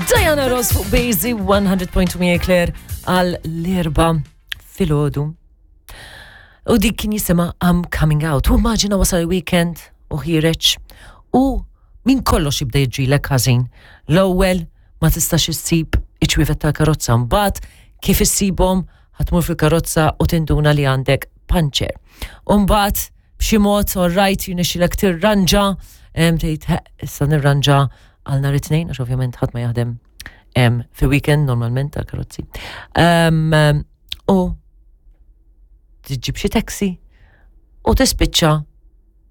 Diana Ross fuq Bazy 100.2 miegħi Claire għal l-erba filgħodu. U dik kien jisimha I'm Coming Out. U immaġina wasal il-weekend u ħireġ u minn kollox jibda jiġrilek ħażin. L-ewwel ma tistax issib iċ-ċwievet tal-karozza mbagħad kif issibhom ħatmur fil-karozza u tinduna li għandek panċer. U mbagħad b'xi mod all right jirnexxilek tirranġa, tgħid issa nirranġa għal nhar it-tnejn għax ovvjament ħadd ma jaħdem fi weekend normalment tal-karozzi. U tiġib xi taxi u tispiċċa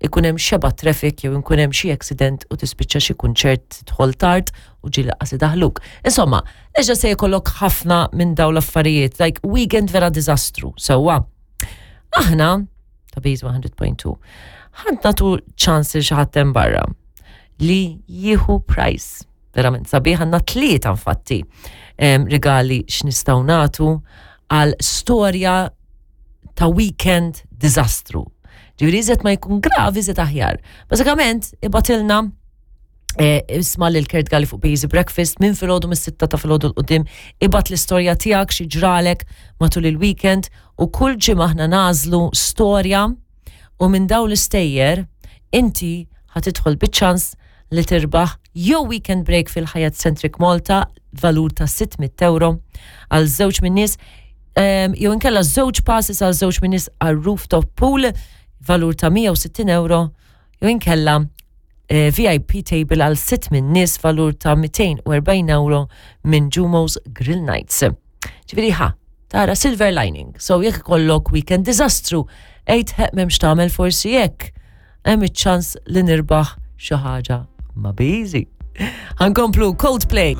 ikun hemm xeba traffic jew ikun hemm xi accident u tispiċċa xi kunċert tidħol tard u ġieli qas idaħluk. Insomma, eġa se jkollok ħafna minn dawn l-affarijiet, like weekend vera diżastru, sewwa. Aħna ta' Base 100.2 ħadd nagħtu ċans li xi ħadd hemm barra li jieħu price. Verament sabiħ għandna tlieta infatti rigali x'nistgħu nagħtu għal storja ta' weekend diżastru. Ġifieri iżet ma jkun gravi iżet aħjar. Bażikament ibatilna eh, isma lil Kurt Galli fuq Busy Breakfast minn filgħodu mis-sitta ta' filgħodu l-qudiem ibad l-istorja tiegħek xi ġralek matul il-weekend u kull ġimgħa aħna nażlu storja u minn dawn l-istejjer inti ħa tidħol biċ-ċans li tirbaħ jew weekend break fil-Hyatt Centric Malta valur ta' 600 euro għal żewġ minn nies ehm, jew inkella żewġ passes għal żewġ minn nies għal rooftop pool valur ta' 160 euro jew inkella eh, VIP table għal sitt minn nies valur ta' 240 euro minn Jumo's Grill Nights. Ġifieri ħa, tara silver lining. So jekk ikollok weekend diżastru, għid ħeq m'hemmx tagħmel forsi hekk. Hemm iċ-ċans li nirbaħ xi ħaġa ma' biżi. Ħankomplu Coldplay.